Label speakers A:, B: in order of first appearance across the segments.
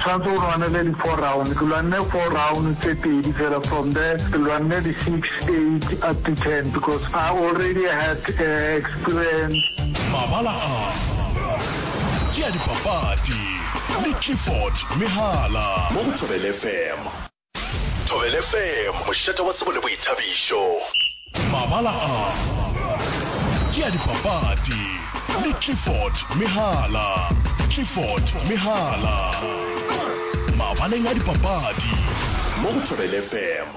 A: Tshwanetse o lwanele di four round, ke lwanne four round tse pedi fela from there ke lwanne di six, eight up to ten because I already had experience.
B: Mabala a ke a dipapadi le Clifford Mehala mo go Thobela FM. Thobela FM, mošate wa tsebo le boithabišo. Mabala a ke a dipapadi le Clifford Mehala. Clifford Mehala. Mabaleng a dipapadi mo go Thobela FM.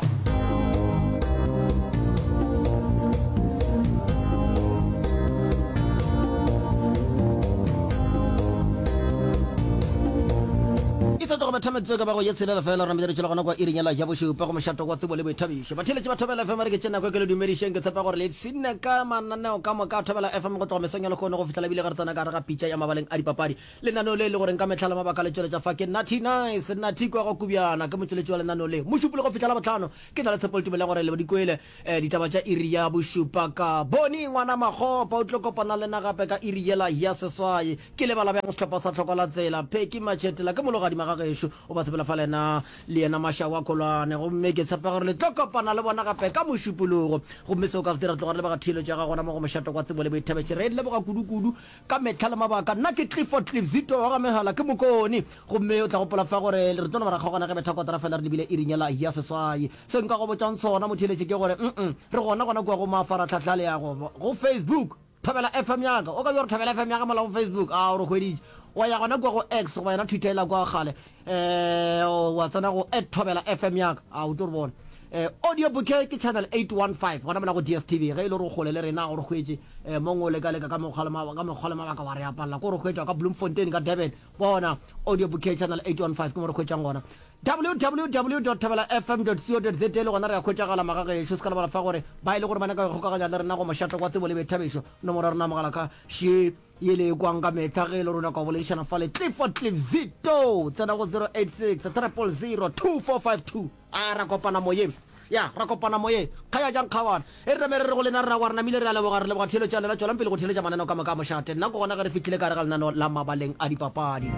C: E sa tloga betha metsotso ka bago ye tshelela fela re namile re tšwela gona kwa iring yela ya bošupa go mošato wa tsebo le boithabišo. Batheeletši ba Thobela FM re ke tše nako e ke le dumedišeng ke tshepa gore le ipshinne ka mananeo ka moka a Thobela FM go tloga mesong ya lehono go fihlela ebile ge re tsena ka gare ga pitša ya mabaleng a dipapadi. Lenaneo le e le goreng ka mehla le mabaka le tšweletša fa ke Nathi Nice Nathi kwa go Kubjana ke motšweletši wa lenaneo le. Mošupologo go fihla Labohlano ke na le tshepo le tumelo ya gore le di kwele eh, ditaba tša iri ya bošupa ka Boni ngwana Makgopa o tlo kopana le nna gape ka iri yela ya seswai. Ke lebala bjang sehlopha sa Tlhoko la Tsela, Pheki Matšhetela ke mologadima ga gešo, o ba sepela fa lena le yena Mašawa Kolwane. Gomme ke tshepa gore le tlo kopana le bona gape ka Mošupologo. Gomme seo ka se dira tloga re leboga theeletšo ya gago gona mo go Mošate wa Tsebo le Boithabišo. Re e leboga kudu-kudu ka mehla le mabaka. Nna ke Clifford Cliff Zito wa ga Megala, ke Mokone. Gomme o tla gopola fa gore re tlo no ba ra kgaogana ge betha kotara fela re lebile iring yela ya seswai. Se nka go botšang sona motheeletši ke gore, mm, re gona gona kua go mafaratlhatlha a leago, go Facebook. Thobela FM ya ka. O ka bja gore Thobela FM ya ka mola go Facebook. A o re hweditše. Wa ya gona kua go X goba yona Twitter ela kwa kgale. Eh, wa tsena go at Thobela FM ya ka. A o tlo re bona. Eh, audio bouquet ke channel 815 gona mola go DSTV. Ge e le gore o kgole le rena o re hwetše eh, mong o leka leka ka mekgwa le mabaka, ka mekgwa le mabaka wa re apalla. Ko re hwetša ka Bloemfontein ka Durban. Bona audio bouquet channel 815 ke mo re hwetšang gona. www.thobelafm.co.za le gona re a hwetšagala magagešo. Se ka lebala fa gore ba e le gore ba nyaka go ikgokaganya le rena go mošate wa tsebo le boithabišo, nomoro ya rena ya mogala ka še ye le e kwang ka mehla ge e le gore o nyaka go boledišana fale Clifford Cliff Zito tsena go 086 000 2452. A ra kopana moyeng. Ya, ra kopana moyeng. Kgaya jang kgawana. E re name re re go lena rra wa re namile re a leboga, re leboga theeletšo ya lena. Tšwelang pele go theeletša mananeo ka moka a mošate. Nna ke gona ge re fihlile ka gare ga lenaneo la mabaleng a dipapadi.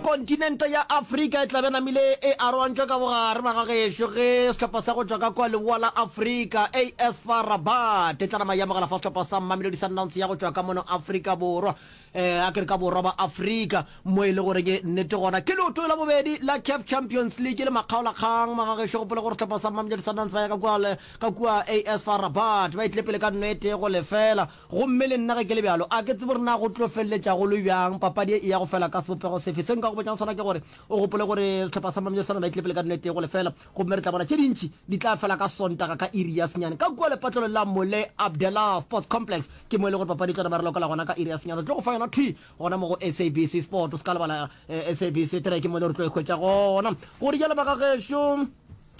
C: Kontinente ya Afrika e tla be namile e aroantšwe ka bogare magagešo ge sehlopha sa go tšwa ka kua leboa la Afrika, AS FAR Rabat, e tla nama e amogela fa sehlopha sa Mamelodi Sundowns ya go tšwa ka mono Afrika Borwa. Eh, a ke re ka borwa ba Afrika, mo e le gore ke nnete gona ke leoto la bobedi la CAF Champions League le makgaolakgang. Magagešo gopola gore sehlopha sa Mamelodi Sundowns ba ya ka kua, ka kua AS FAR Rabat, ba itlile pele ka nno e tee go lefela. Gomme le nna ge ke le bjalo, a ke tsebe gore na go tlo feleletša go le bjang, papadi e ya go fela ka sebopego sefe. Se nka go botšang sona ke gore o gopole gore sehlopha sa Mamelodi Sundowns ba itlile pele ka nno e tee go lefela, gomme re tla bona tše dintši di tla fela ka Sontaga ka iri ya senyane ka kua lepatlelong la Moulay Abdellah Sports Complex. Ke mo e le gore papadi e tlo nama re lokela gona ka iri ya senyane. Re tlo go fa yona thwi gona mo go SABC Sport. O se ka lebala eh, SABC 3 ke mo e le gore tlo e hwetša gona. Go rialo bagagešo,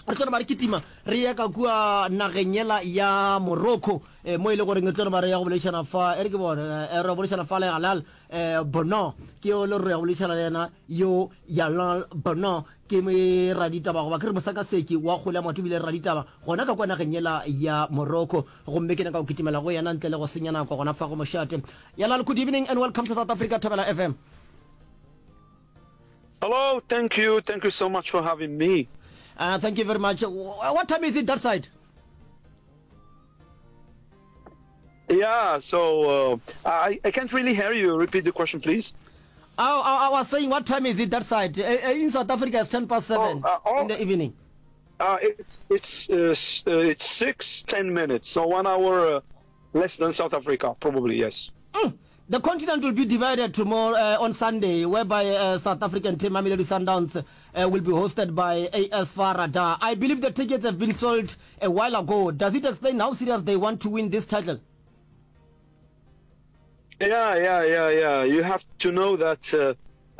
C: re tlo nama re kitima re ye ka kua nageng yela ya Morocco eh, mo e le goreng re tlo nama re ya go boledišana fa e re ke bone eh, re boledišana fa le Halal eh, Bono ke yo le re ya go boledišana le yena yo Yalal Bono Ke raditaba goba ke re mosakaseki wa kgole ya maoto ebile raditaba gona ka kwa nageng yela ya Morocco. Gomme ke nyaka go kitimela go yena ntle le go senya nako gona fa go mošate. Yalal, good evening and welcome to South Africa Thobela FM.
D: Hello, thank you, thank you so much for having me.
C: Uh, thank you very much. What time is it that side?
D: Yeah, so uh, I, I can't really hear you. Repeat the question, please.
C: I, I, I was saying, what time is it that side? Uh, uh, in South Africa, it's 10 past 7 oh, uh, oh, in the evening.
D: Uh, it's it's uh, uh, it's 6, 10 minutes, so one hour uh, less than South Africa, probably, yes.
C: Mm. The continent will be divided tomorrow uh, on Sunday, whereby uh, South African team Mamelodi Sundowns uh, will be hosted by AS FAR Rabat. I believe the tickets have been sold a while ago. Does it explain how serious they want to win this title?
D: Yeah, yeah, yeah, yeah. You have to know that uh,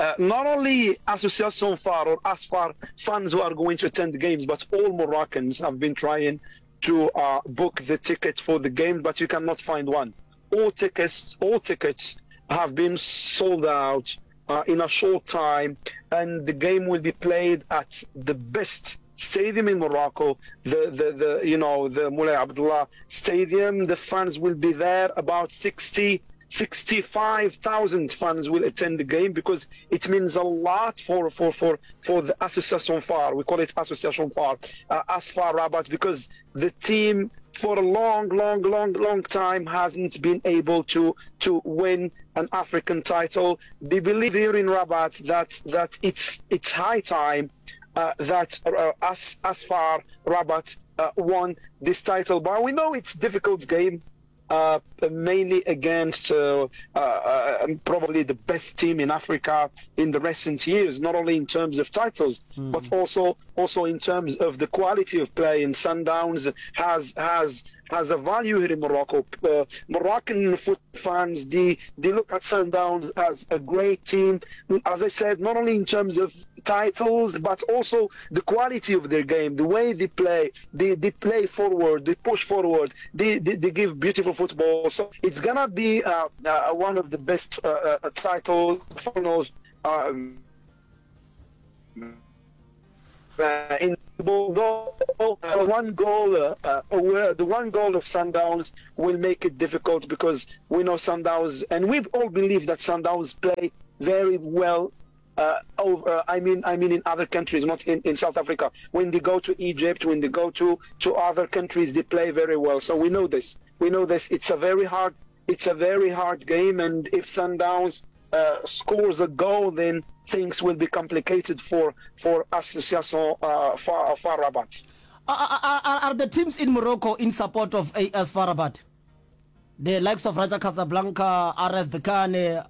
D: uh, not only Association FAR or ASFAR fans who are going to attend the games, but all Moroccans have been trying to uh, book the ticket for the game, but you cannot find one. All tickets, all tickets have been sold out uh, in a short time, and the game will be played at the best stadium in Morocco, the, the, the you know the Moulay Abdullah Stadium. The fans will be there, about 60. 65,000 fans will attend the game because it means a lot for, for, for, for the Association FAR. We call it Association FAR, uh, AS FAR Rabat, because the team for a long, long, long, long time hasn't been able to, to win an African title. They believe here in Rabat that, that it's, it's high time uh, that uh, as, AS FAR Rabat uh, won this title. But we know it's difficult game uh, mainly against uh, uh, uh, probably the best team in Africa in the recent years, not only in terms of titles, mm. but also also in terms of the quality of play. And Sundowns has has has a value here in Morocco. Uh, Moroccan football fans, they, they look at Sundowns as a great team. As I said, not only in terms of titles, but also the quality of their game, the way they play. They, they play forward, they push forward, they, they, they give beautiful football. So it's going to be uh, uh, one of the best uh, uh title finals. Um, uh, in although uh, one goal, uh, uh, the one goal of Sundowns will make it difficult because we know Sundowns, and we all believe that Sundowns play very well uh, over, I mean, I mean in other countries, not in, in South Africa. When they go to Egypt, when they go to, to other countries, they play very well. So we know this. We know this. It's a very hard, it's a very hard game, and if Sundowns uh, scores a goal, then things will be complicated for for Association uh, FAR, FAR Rabat.
C: Are, are, are the teams in Morocco in support of AS FAR Rabat? The likes of Raja Casablanca, RS Berkane.